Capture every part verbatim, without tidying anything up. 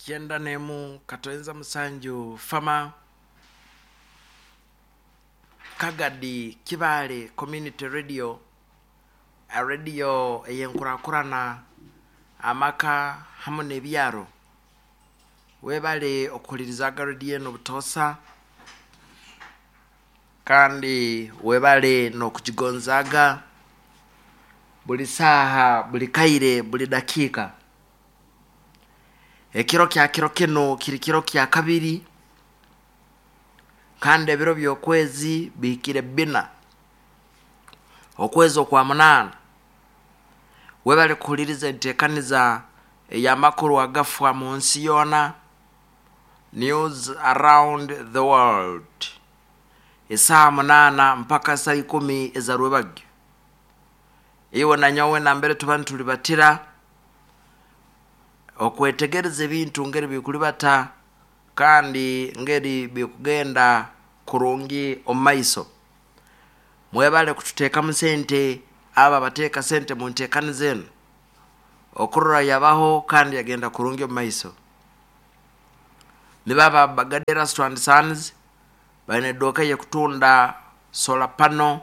Kyenda n'emu katoenza musanju fama Kagadi Kibaale Community Radio, a radio ey'enkurakurana amaka hamu n'ebyaro. Webale okuhulirizaga radio eno butoosa, kandi webale n'okugigonzaaga buli saaha, buli kaire, buli dakiika. Ekiro kya kiro kinu kiri kiro kya kabiri, kandi ebiro by'okwezi bihikire bbina, okwezi okwa munaana. Webale kuhuliriza enteekaniza ey'amakuru agafa mu nsi yoona, news around the world, esaaha munaana mpaka saa ikumi eza rwebagyo. Iwe na nyowe nambere tuba nitulibatira okwetegereza ebintu ngeri bikulibata kandi ngeri bikugenda kurungi omu maiso. Mwebale kututeekamu sente, abo abateeka sente mu nteekaniza enu okurora yabaho kandi yagenda kurungi omu maiso. Nibaba Bagadera Strand Sons, baine edduuka ey'ekutunda solar panel,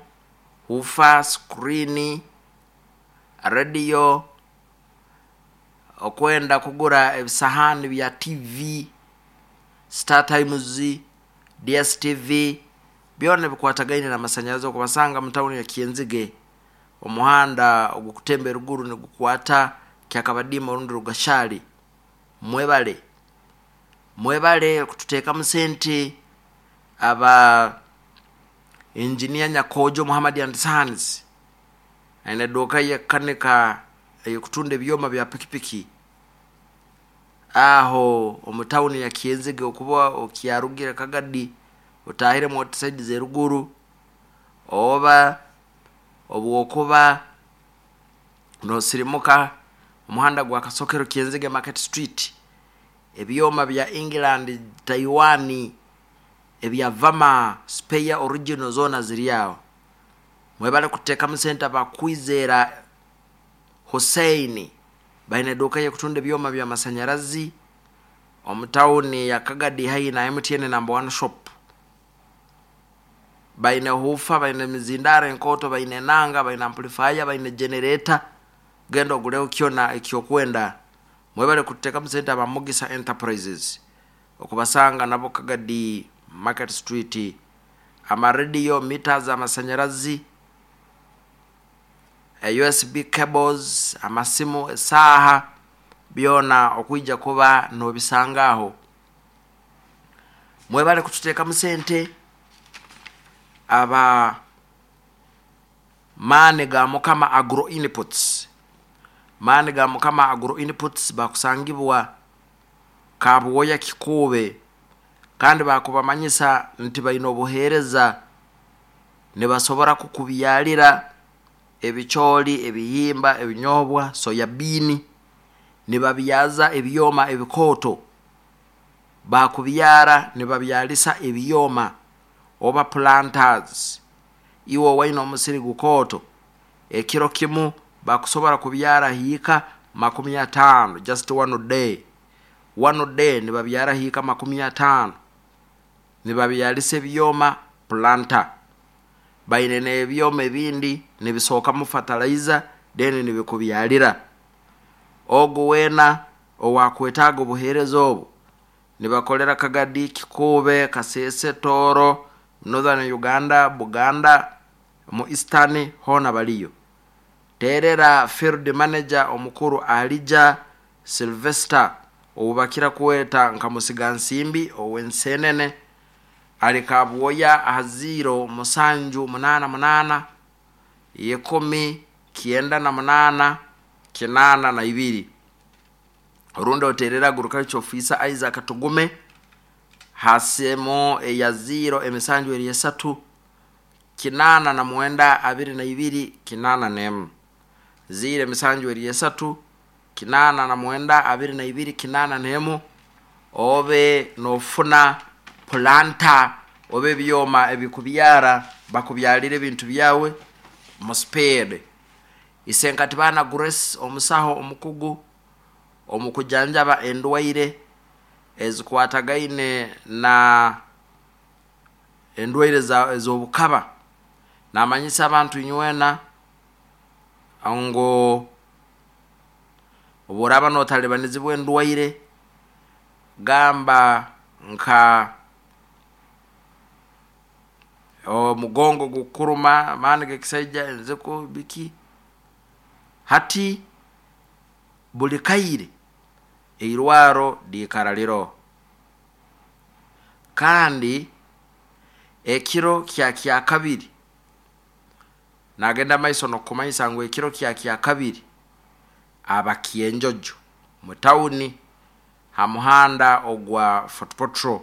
woofer, screen, radio, okwenda kugura ebisahaani bya T V, Star Times, D S T V, byona ebikwatagaine n'amasanyarazi. Okubasanga mu tawuni ya Kyenzige, omuhanda ogukutemba eruguru nigukwata Kyakabadiima orundi Rugashali. Mwebale, mwebale kututeekamu sente. Aba Engineer Nyakojo Muhammad and Sons, aine edduuka y'ekukanika, ey'okutunda ebyoma bya pikipiki aho omu tawuni ya Kyenzige. Okuba okyarugire Kagadi otahiremu oti side z'eruguru, oba obwokuba nosirimuka omuhanda gwa Kasokero Kyenzige Market Street, ebyoma bya England, Taiwan, ebya Vama, spare original zoona ziri aho. Mwebale kuteekamu sente. Abakwizera Hussein baine edduuka y'ekutunda ebyoma by'amasanyarazi omu tawuni ya Kagadi, haihi na M T N number one shop. Baine woofer, baine emizindaro enkooto, baine enanga, baine amplifier, baine generator. Genda oguleho kyona ekyokwenda. Mwebale kututeekamu sente. Aba Mugisa Enterprises, okubasanga nabo Kagadi Market Street, amarediyo, meters, amasanyarazi, U S B cables, amasimu, esaaha, byona okwija kuba nobisanga aho. Mwebale kututeekamu sente. Aba Maani ga Mukama Agro Inputs, Maani ga Mukama Agro Inputs bakusangibwa Kabuwoya Kikuube, kandi bakubamanyisa nti baine obuheereza, nibasobora kukubyalira ebicooli, ebihimba, ebinyobwa, soyabean, nibabyaza ebyoma ebikooto. Bakubyara nibabyalisa ebyoma oba planters. Iwe owaine omusiri gukooto, ekiro kimu bakusobora kubyara hiika makumi ataano, just one day, one day nibabyara hiika makumi ataano nibabyalisa ebyoma planter. Baine n'ebyoma ebindi nibisookamu fertilizer, then nibikubyalira. Ogu weena owakwetaaga obuheereza obu, nibakolera Kagadi, Kikuube, Kasese, Tooro, Northern Uganda, Buganda, mu Eastern hoona baliyo. Terera field manager omukuru Alija Sylvester, ou bakira kweta nka Musigansimbi ow'ensenene, ali Kabwoya, aha ziro musanju munaana munaana ikumi kyenda na munaana kinaana na ibiri, orundi oterera agriculture officer Isaac Tugume hasemo eya ziro emisanju eri esatu kinaana na mwenda abiri na ibiri kinaana n'emu, ziro emisanju eri esatu kinaana na mwenda abiri na ibiri kinaana n'emu, obe nofuna planter oba ebyoma ebikubyara, bakubyalira ebintu byawe mu speed. Isenkati Baana Grace, omusaho omukugu omu kujanjaba endwaire. ezikwatagaine na endwaire ez'obukaba. Namanyisa abantu inywena ngu obu oraaba nootalibanizibwa endwaire, gamba nka omugongo gukuruma, amaani g'ekisaija, enziku, biki, hati buli kaire eirwaro liikara liroho. Kandi ekiro kya kyakabiri nagenda maiso nokumanyisa ngu ekiro kya kyakabiri aba Kyenjojo mu tawuni ha muhanda ogwa Fort Portal,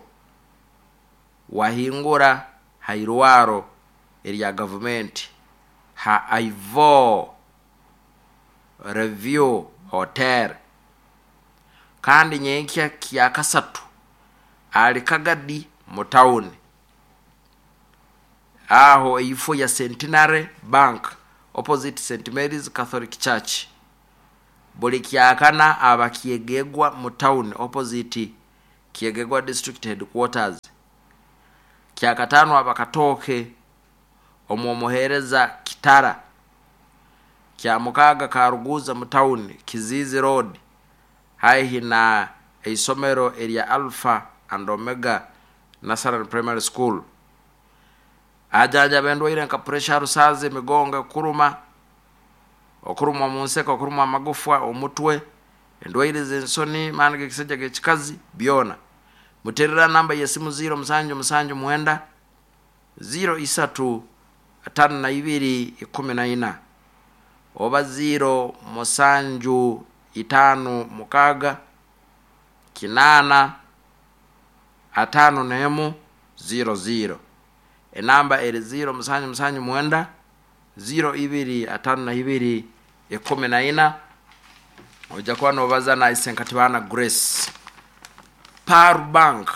wahingura ha irwaro erya gavumenti ha Ivo Review Hotel. Kandi nyenkya kyakasatu ali Kagadi mu tawuni, aho eifo ya Centenary Bank opposite Saint Mary's Catholic Church. Buli kyakana aba Kyegegwa mu tawuni opposite Kyegegwa District Headquarters. Kyakataano aba Katooke omu omuheereza Kitara. Kyamukaaga Karuguza mu tawuni Kiziizi Road, haihi na eisomero erya Alpha and Omega Nursery Primary School. Ajanjaba endwaire nka puresha, rusaazi, emigongo ekuruma, okurumwa mu nseko, okurumwa amagufwa, omutwe, endwaire z'ensoni, maani g'ekisajja g'ekikazi, byona. Muterera namba y'esimu ziro musanju musanju mwenda ziro isatu atano na ibiri ikumi na ina, oba ziro musanju itano mukaaga kinaana atano n'emu ziro ziro. Enamba eri ziro musanju musanju mwenda ziro ibiri atano na ibiri ikumi na ina. Ojja kuba nobaza na Isenkatibana Grace. Paru Bank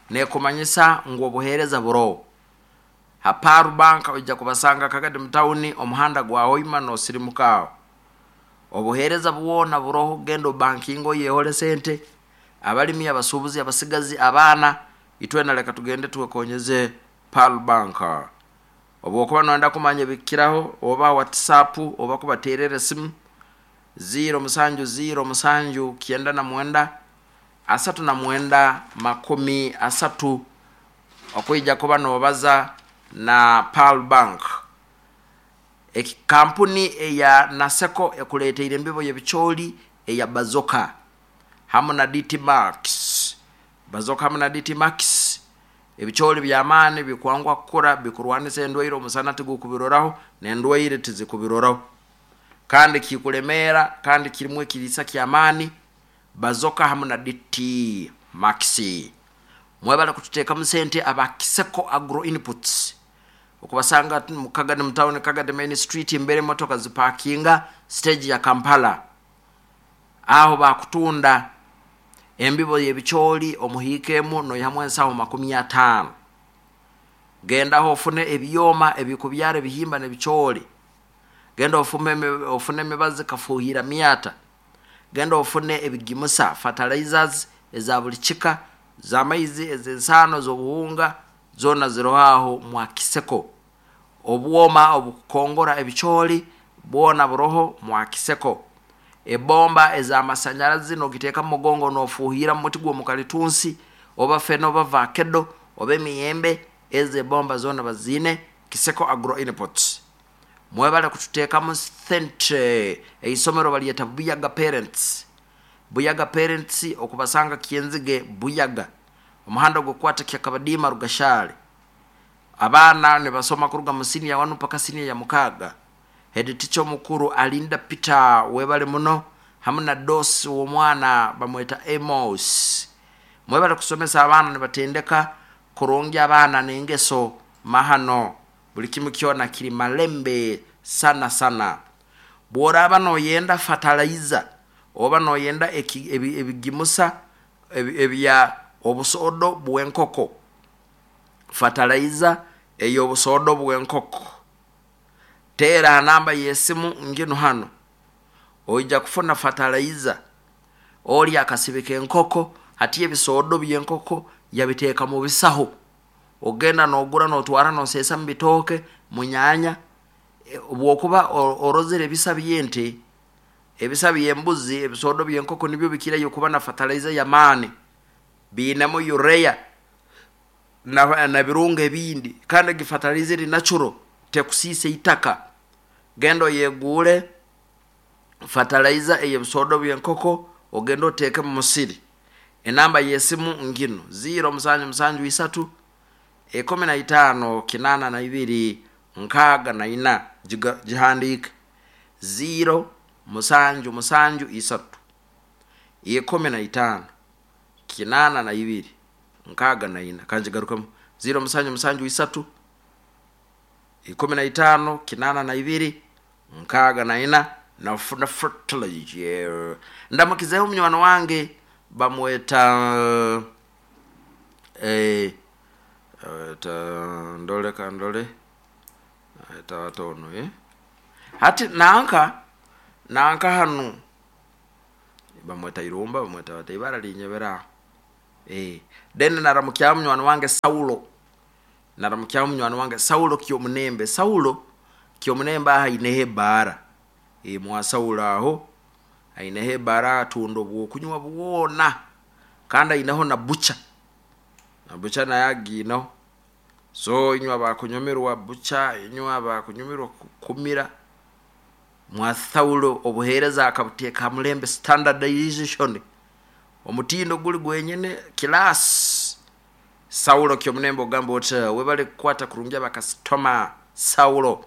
nekumanyisa ngu obuheereza buroho ha Paru Bank. Ojja kubasanga Kagadi mu tawuni, omuhanda gwa Hoima nosirimuka aho. Obuheereza bwona buroho, genda obankinga oyehole sente. Abalimi, abasuubuzi, abasigazi, abaana, itwena leka tugende twekonyeze Paru Bank. Obwokuba noyenda kumanya ebikiraho, oba WhatsApp oba kubaterera esimu ziro musanju ziro musanju kyenda na mwenda asatu na mwenda makumi asatu, okwija kuba nobaza na Pearl Bank. Kampuni eya Naseko ekuleteire embibo y'ebicooli eya Bazoka hamu na D T Max. Bazoka hamu na D T Max, ebicooli by'amaani bikwangwa kukura, bikurwanisa endwaire, omusana tigukubiroraho n'endwaire tizikubiroraho, kandi kikulemeera, kandi kirimu ekiriisa ky'amaani. Bazoka hamu na D T Max. Mwebale kututeekamu sente aba Kiseko Agro Inputs. Okubasanga mu Kagadi mu town, Kagadi Main Street, mbere emotoka zipakinga stage ya Kampala. Aho bakutunda embibo y'ebicooli omuhiikemu noyihamu ensaho makumi ataano. Gendaho ofune ebyoma ebikubyara ebihimba n'ebicooli. Genda ofune ofune emibazi kafuhira myata. Genda ofune ebigimusa fertilizers eza buli kika, z'amaizi, ez'ensaano, z'obuhunga, zona ziroho aho mwa Kiseko. Obwoma obukukongora ebicooli bwona buroho mwa Kiseko. Ebomba ez'amasanyarazi nogiteeka mu mugongo nofuuhira mu muti gw'omukalitunsi, oba fene, oba vakedo, oba emiyembe, ezo ebomba zona baziine Kiseko Agro Inputs. Mwebale kututeekamu sente. Eisomero balyeta Buyaga Parents. Buyaga Parents okubasanga Kyenzige Buyaga, omuhanda ogukwata Kyakabadiima Rugashale. Abaana nibasoma kuruga mu siniya wanu paka siniya ya mukaaga. Head teacher omukuru Alinda Peter, webale muno, hamu na dosi w'omwana bamweta Amos. Mwebale kusomesa abaana nibatendeka kurungi abaana n'engeso mahano, buli kimu kyona kiri malembe sana sana. Bw'oraaba noyenda fertilizer oba noyenda ebigimusa ebya obusodo bw'enkoko, fertilizer ey'obusodo bw'enkoko, teera namba y'esimu nginu hano, oija kufuna fertilizer. Oli akasibika enkoko Hati ebisodo by'enkoko yabiteeka mu bisaho, ogenda n'ogura n'otwara n'oseesa mu bitooke, mu nyaanya. Obwokuba orozere ebisa by'ente, ebisa by'embuzi, ebisodo by'enkoko nibyo bikirayo kuba na fertilizer y'amaani, biinemu urea na, na birungo ebindi, kandi egi fertilizer eri natural, tekusiisa itaka. Genda oyeguure fertilizer ey'ebisodo by'enkoko, ogende oteeke mu musiri. Enamba y'esimu nginu ziro musanju musanju isatu ekumi na itaano kinaana na ibiri nkaaga na ina, gihandiike ziro musanju musanju isatu ikumi na itaano kinaana na ibiri nkaaga na ina. Kangigarukemu, ziro musanju musanju isatu ikumi na itaano kinaana na ibiri nkaaga na ina. Nafuna fertilizer. Ndamukizeho munywani wange bamweta eh, ta ndole kandole tatono eh hati nanka nanka hanu bamweta Irumba, bamweta bata ibara linyebera eh then naramukya munywani wange Saulo, naramukya munywani wange Saulo Kyomunembe. Saulo Kyomunembe aha aineho ebbaara, e mwa Saulo aho aineho ebbaara, atunda obwokunywa bwona, kandi aineho na bucha, na bucha naye agiineho. So inywe abakunyumirwa bucha, inywe abakunyumirwa kumira, mwa Saulo obuheereza akabuteeka ha mulembe, standardization, omutindo guli gwenyene class. Saulo Kyomunembe ogamba oti webale kukwata kurungi abakasitoma Saulo.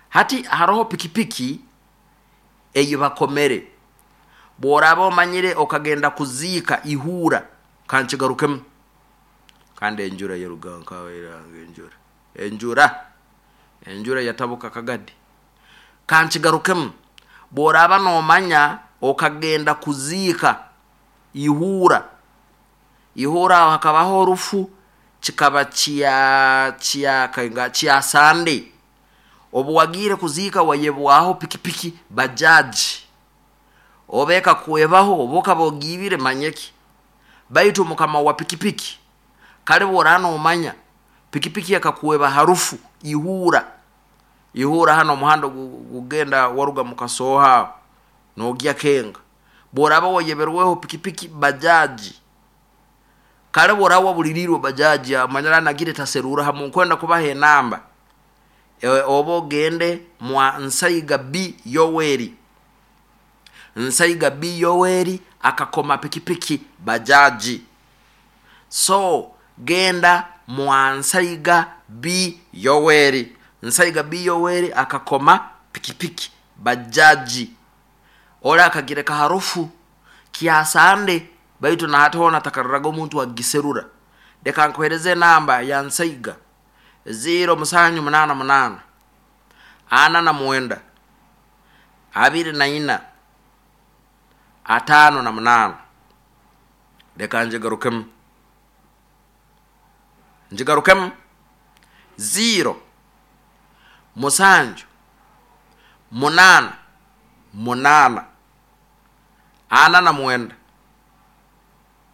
Hati haroho pikipiki eyi bakomere, bworaba omanyire okagenda kuziika Ihura, kankigarukemu, kandi enjura yeruga nkawairanga, enjura enjura enjura yatabuka kagadi. Kankigarukemu, bworaba nomanya okagenda kuziika Ihura, Ihura aho hakabaho orufu, kikaba kya kya kya Sande, obu wagiire kuziika wayebwaho pikipiki bajaji, oba ekakwebaho oba okaba ogiibire manyeki, baitu mukama wa pikipiki kale bworaba nomanya pikipiki ekakweba harufu Ihura, Ihura hano omuhanda gugenda waruga mukasooha nogya Kenga, bworaba wayeberweho pikipiki bajaji, kale bworaba wabulirirwe bajaji amanyira nagire taserura hamu, nkwenda kubaha enamba e, oba ogende mwa Nsaiga B Yoweri, Nsaiga B Yoweri akakoma pikipiki bajaji. So genda mwa Nsaiga B Yoweri, Nsaiga B Yoweri akakoma pikipiki bajaji, ora akagireka harufu kyasande, baitu na hati hona takarraga omuntu agiserura. Leka nkuhereze enamba ya Nsaiga, ziro musanju munaana munaana ana na mwenda abiri na ina atano na munaana. Leka njigarukemu, njigarukemu, ziro musanju munaana munaana ana na mwenda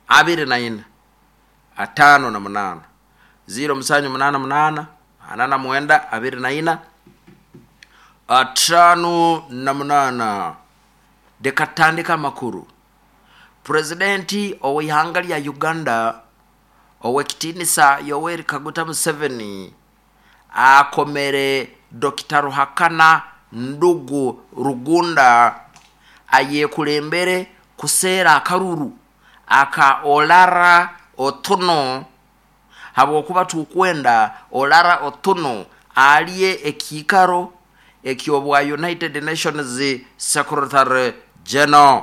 abiri na ina atano na munaana, ziro musanju munaana munaana ana na mwenda abiri na ina atano na munaana. Leka tutandike amakuru. Purezidenti ow'ihanga lya Uganda ow'ekitiinisa Yoweri Kaguta Museveni akomere Dokita Ruhakana Ndugu Rugunda ayekulembere kuseera akaruru aka Olara Otuno, habwokuba tukwenda Olara Otuno alye ekiikaro ekyobwa United Nations Secretary General.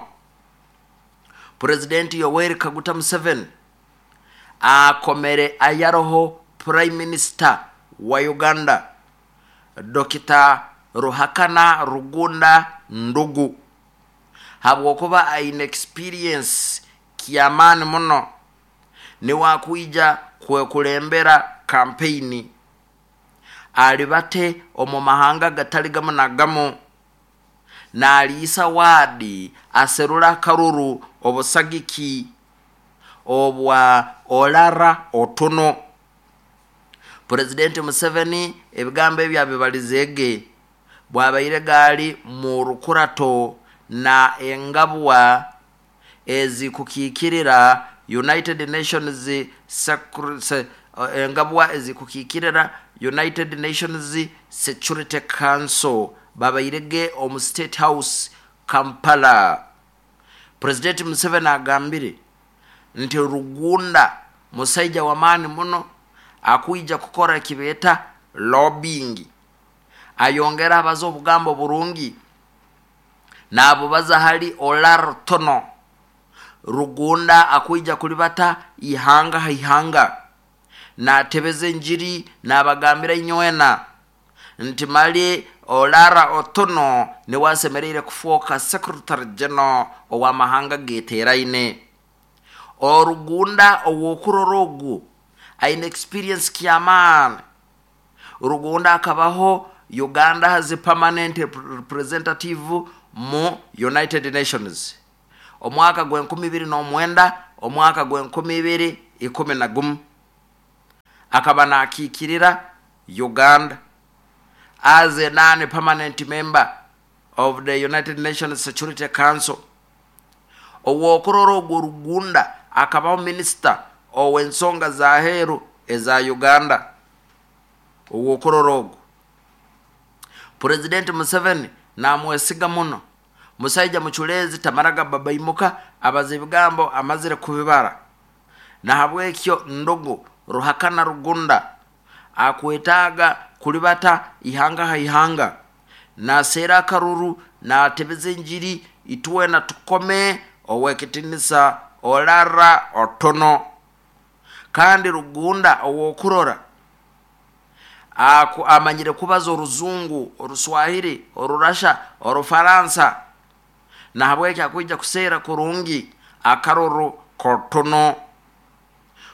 Purezidenti Yoweri Kaguta Museveni akomere ayaroho Prime Minister wa Uganda Dokita Ruhakana Rugunda Ndugu, habwokuba aine experience kyamaani muno, niwakwija kwekulembera kampeyini alibate omu mahanga gatali gamu na gamu, naliisa waadi aserura akaruru obusagiki obwa Olara Otuno. Purezidenti Museveni ebigambo ebyo abibalizeege bwabaire gaali mu rukurato na engabwa ezikukiikirira United Nations Secur- se- engabwa ezikukiikirira United Nations Security Council babairege omu State House Kampala. Purezidenti Museveni agambire nti Rugunda musaija w'amaani muno akwija kukora ekibeeta lobbying, ayongera abaza obugambo burungi nabubaza hali Olara Otuno. Rugunda akwija kulibata ihanga ha ihanga natebeza enjiri nabagambira inywena nti mali Olara Otuno niwe asemereire kufuuka Secretary General ow'amahanga geeteraine. Orugunda ow'okurora ogu aine experience ky'amaani. Rugunda akabaho Uganda has a permanent representative mu United Nations omwaka gw'enkumi ibiri n'omwenda omwaka gw'enkumi ibiri ikumi na gumu akaba nakiikirira Uganda as a non-permanent member of the United Nations Security Council. Ow'okurora ogwo Rugunda akabaho minisita ow'ensonga z'aheeru eza Uganda. Ow'okurora ogwo Purezidenti Museveni namwesiga muno, musaija muculeezi tamaraga babaimuka abaza ebigambo amazire kubibara. Nahabwekyo ndogo Ruhakana Rugunda akwetaaga kulibata ihanga ha ihanga, naseera akaruru natebeza enjiri itwena tukome owekitinisa Olara Otuno. Kandi Rugunda ow'okurora aku amanyire kubaza oruzungu, oruswahili, orurasha, orufaransa, nahabwekyo akwija kuseera kurungi akaruru k'Otuno.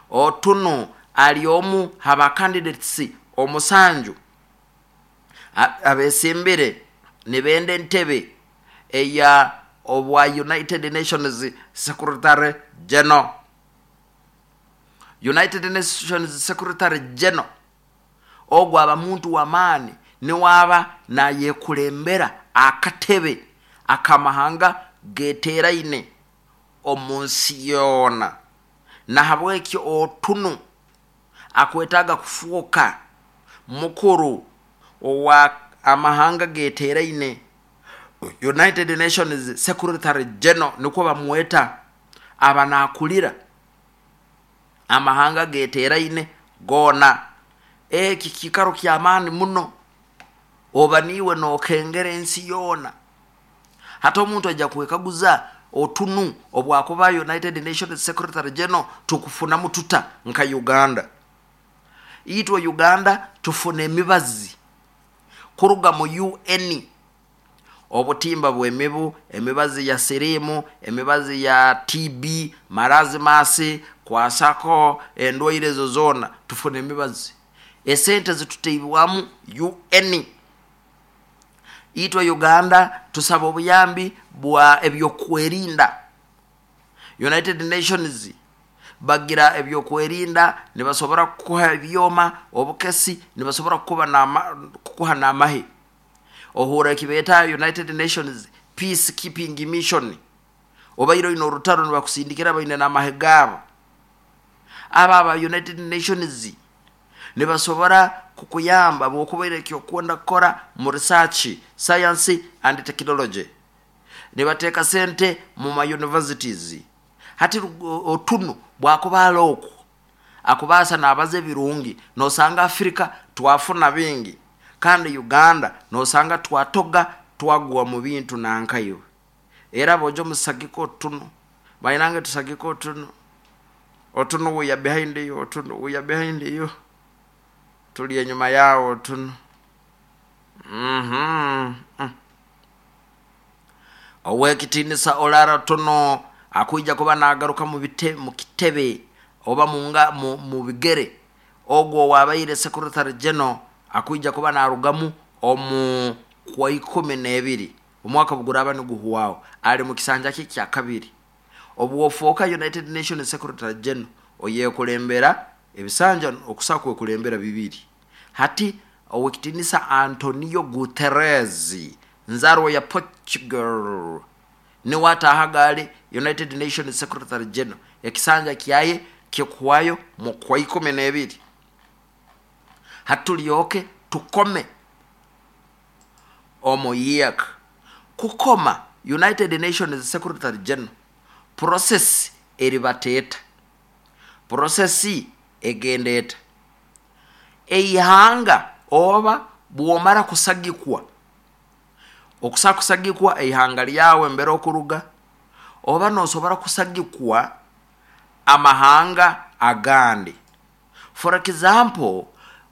Otuno ali omu haba candidates omusanju abesimbire nibenda entebe eya obwa United Nations Secretary General. United Nations Secretary General ogwo aba muntu w'amaani niwaba nayekulembera akatebe akamahanga geeteraine omu nsi yoona. Nahabwekyo Otuno akwetaaga kufuuka mukuru owa amahanga geeteraine, United Nations Secretary General nikwo bamweta, aba nakulira amahanga geeteraine goona. Eki kiikaro ky'amaani muno, oba niiwe nookengera ensi yoona. Hati omuntu ajja kwekaguza Otunu obwakuba United Nations Secretary General tukufunamu tuta nka Uganda? Itwe Uganda tufuna emibazi kuruga mu U N, obutimba bw'emibu, emibazi ya sirimu, emibazi ya T B, marazimasi, kwasako, endwaire ezo zoona tufuna emibazi. Esente zituteibwamu U N. Itwe Uganda tusaba obuyambi bwa ebyokwerinda. United Nations bagira ebyokwerinda, nibasobora kukuha ebyoma, obukesi, nibasobora kukuba nama, kukuha n'amahe. Ohura ekibeeta United Nations Peacekeeping Mission, obaire oine orutaro nibakusindikira baine n'amahe gaabo. Aba aba United Nations nibasobora kukuyamba bw'okubaire ekyokwenda kukora mu research, science and technology. Nibateeka sente mu ma universities. Hati Otunu bwakuba alokwo akubaasa n'abaza ebirungi, nosanga Afrika twafuna bingi, kandi Uganda nosanga twatoga twagwa mu bintu nankayo. Era bojo musagiko Otuno, bainange tusagiko Otuno. Otuno we are behind you, Otuno we are behind you, tuli enyuma yao Otuno. Mhm. Mm. Owekitinisa Olara Otuno akwija kuba nagaruka mu bite, mu kitebe oba munga mu, mu bigere ogwo wabaire Secretary General akwija kuba narugamu omu kwa ikumi n'ebiri omwaka buguraba niguhuwao, ali mu kisanja kye kya kabiri. Obwofooka United Nations Secretary General, oyekulembera ebisanja okusobola kwekulembera bibiri. Hati Owekitinisa Antonio Guterres, nzarwa ya Portugal, niwe atahaga ali United Nations Secretary General. Ekisanja kyaye kikuhwayo mu kwa ikumi n'ebiri. Hati tulyoke tukome omu yiaka kukoma United Nations Secretary General. Process eribateeta, process egenda eta? Eihanga oba bwomara kusagikwa, okusa kusagikwa eihanga lyawe mbere okuruga, oba nosobora kusagikwa amahanga agandi. For example,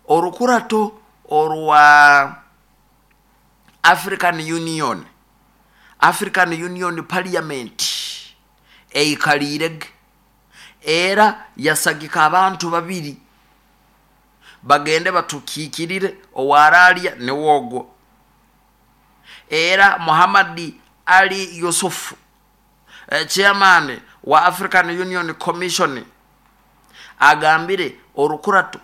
orukurato orwa African Union, African Union Parliament eikalirege era yasagika abantu babiri bagende batukikirire. Owaralya niwogwo era Muhammad Ali Yusufu, eh, chairman wa African Union Commission, agambire orukurato.